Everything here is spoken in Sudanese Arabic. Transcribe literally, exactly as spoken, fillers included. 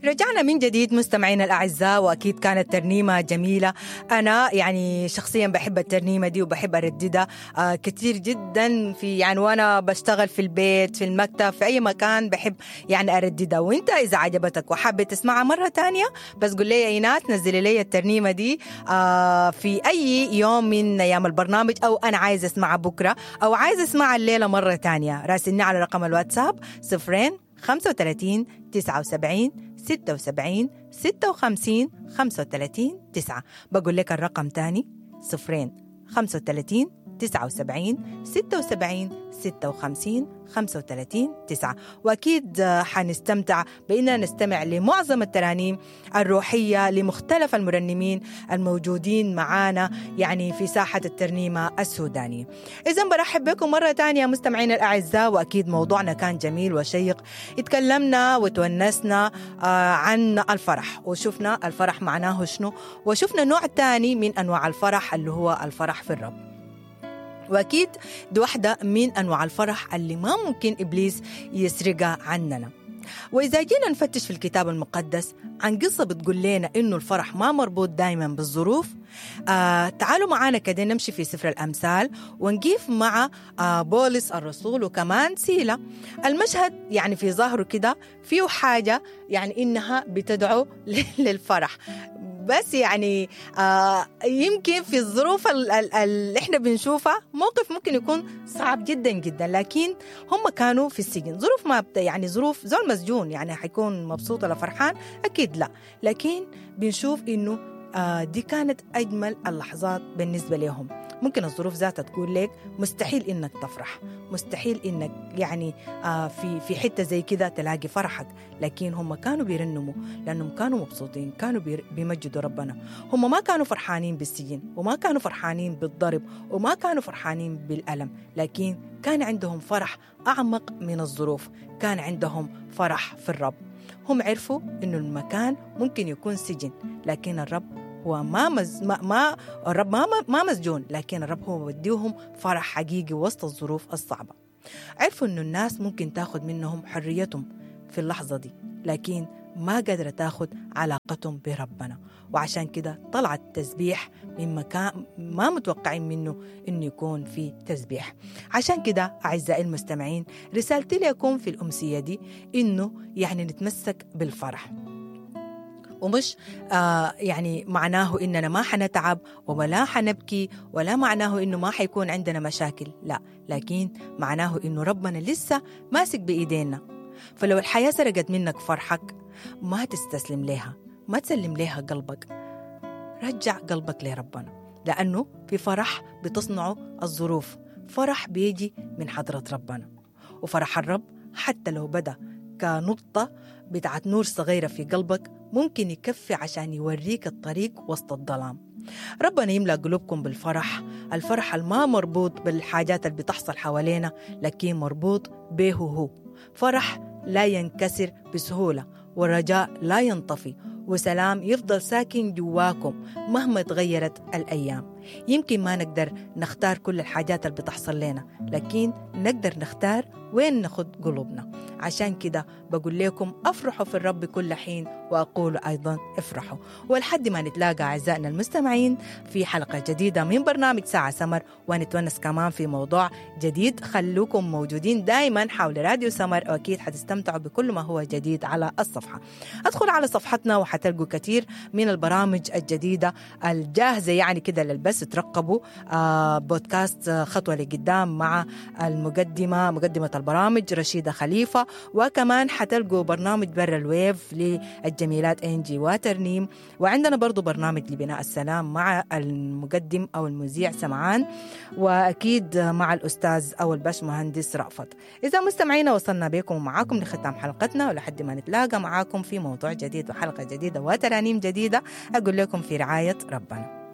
رجعنا من جديد مستمعينا الأعزاء، وأكيد كانت ترنيمة جميلة. أنا يعني شخصيا بحب الترنيمة دي وبحب أرددها آه كتير جدا في يعني وأنا بشتغل في البيت، في المكتب، في أي مكان بحب يعني أرددها. وإنت إذا عجبتك وحابة تسمعها مرة تانية بس قول لي يا إيناس نزلي لي الترنيمة دي آه في أي يوم من أيام البرنامج، أو أنا عايز أسمعها بكرة أو عايز أسمعها الليلة مرة تانية. راسلني على رقم الواتساب صفرين خمسة وثلاثين تسعة وسبعين ستة وسبعين ستة وخمسين خمسة وثلاثين تسعة. بقول لك الرقم تاني صفرين خمسة وثلاثين تسعة وسبعين ستة وسبعين ستة وخمسين خمسة وثلاثين تسعة. وأكيد حنستمتع بأننا نستمع لمعظم الترانيم الروحية لمختلف المرنمين الموجودين معانا يعني في ساحة الترنيمة السودانية. إذن برحب بكم مرة تانية مستمعين الأعزاء، وأكيد موضوعنا كان جميل وشيق، اتكلمنا وتونسنا عن الفرح وشفنا الفرح معناه شنو، وشفنا نوع تاني من أنواع الفرح اللي هو الفرح في الرب. وأكيد دي واحدة من أنواع الفرح اللي ما ممكن إبليس يسرقها عننا. وإذا جينا نفتش في الكتاب المقدس عن قصة بتقول لنا إنه الفرح ما مربوط دايما بالظروف، آه تعالوا معانا كده نمشي في سفر الأمثال ونقيف مع آه بولس الرسول وكمان سيلة. المشهد يعني في ظاهره كده فيه حاجة يعني إنها بتدعو للفرح، بس يعني آه يمكن في الظروف اللي احنا بنشوفها موقف ممكن يكون صعب جدا جدا، لكن هم كانوا في السجن، ظروف ما بت يعني ظروف زول مسجون يعني حيكون مبسوط ولا فرحان؟ أكيد لا، لكن بنشوف إنه آه دي كانت أجمل اللحظات بالنسبة لهم. ممكن الظروف ذاتها تقول لك مستحيل إنك تفرح، مستحيل إنك يعني آه في في حتة زي كده تلاقي فرحك، لكن هم كانوا بيرنموا لأنهم كانوا مبسوطين، كانوا بيمجدوا ربنا. هم ما كانوا فرحانين بالسجن وما كانوا فرحانين بالضرب وما كانوا فرحانين بالألم، لكن كان عندهم فرح أعمق من الظروف، كان عندهم فرح في الرب. هم عرفوا إنه المكان ممكن يكون سجن، لكن الرب هو ما, مز... ما... ما الرب ما... ما مسجون، لكن الرب هو بديهم فرح حقيقي وسط الظروف الصعبة. عرفوا إنه الناس ممكن تاخد منهم حريتهم في اللحظة دي، لكن ما قادرة تاخد علاقتهم بربنا، وعشان كده طلع التسبيح من مكان ما متوقعين منه إنه يكون في تسبيح. عشان كده أعزائي المستمعين رسالتي لكم في الأمسية دي إنه يعني نتمسك بالفرح، ومش آه يعني معناه إننا ما حنتعب ولا حنبكي، ولا معناه إنه ما حيكون عندنا مشاكل، لا، لكن معناه إنه ربنا لسه ماسك بإيدينا. فلو الحياة سرقت منك فرحك ما تستسلم لها، ما تسلم لها قلبك، رجع قلبك لربنا، لأنه في فرح بتصنعه الظروف، فرح بيجي من حضرة ربنا. وفرح الرب حتى لو بدأ كنقطة بتاعت نور صغيرة في قلبك ممكن يكفي عشان يوريك الطريق وسط الظلام. ربنا يملأ قلوبكم بالفرح، الفرح الما مربوط بالحاجات اللي بتحصل حوالينا، لكن مربوط به هو. فرح لا ينكسر بسهولة، والرجاء لا ينطفي، وسلام يفضل ساكن جواكم مهما تغيرت الأيام. يمكن ما نقدر نختار كل الحاجات اللي بتحصل لنا، لكن نقدر نختار وين ناخد قلوبنا. عشان كده بقول لكم أفرحوا في الرب كل حين، وأقول أيضا افرحوا. ولحد ما نتلاقى أعزائنا المستمعين في حلقة جديدة من برنامج ساعة سمر، ونتونس كمان في موضوع جديد، خلوكم موجودين دايما حول راديو سمر، وأكيد حتستمتعوا بكل ما هو جديد على الصفحة. أدخل على صفحتنا وحتلقوا كثير من البرامج الجديدة الجاهزة يعني كده للبث. ترقبوا آه بودكاست خطوة لقدام مع المقدمة مقدمة البرامج رشيدة خليفة، وكمان حتلقوا برنامج برا الويف للجميلات إنجي وترنيم، وعندنا برضو برنامج لبناء السلام مع المقدم أو المذيع سمعان، وأكيد مع الأستاذ أو الباش مهندس رأفت. إذا مستمعينا وصلنا بكم ومعاكم لختام حلقتنا، ولحد ما نتلاقى معاكم في موضوع جديد وحلقة جديدة وترانيم جديدة، أقول لكم في رعاية ربنا.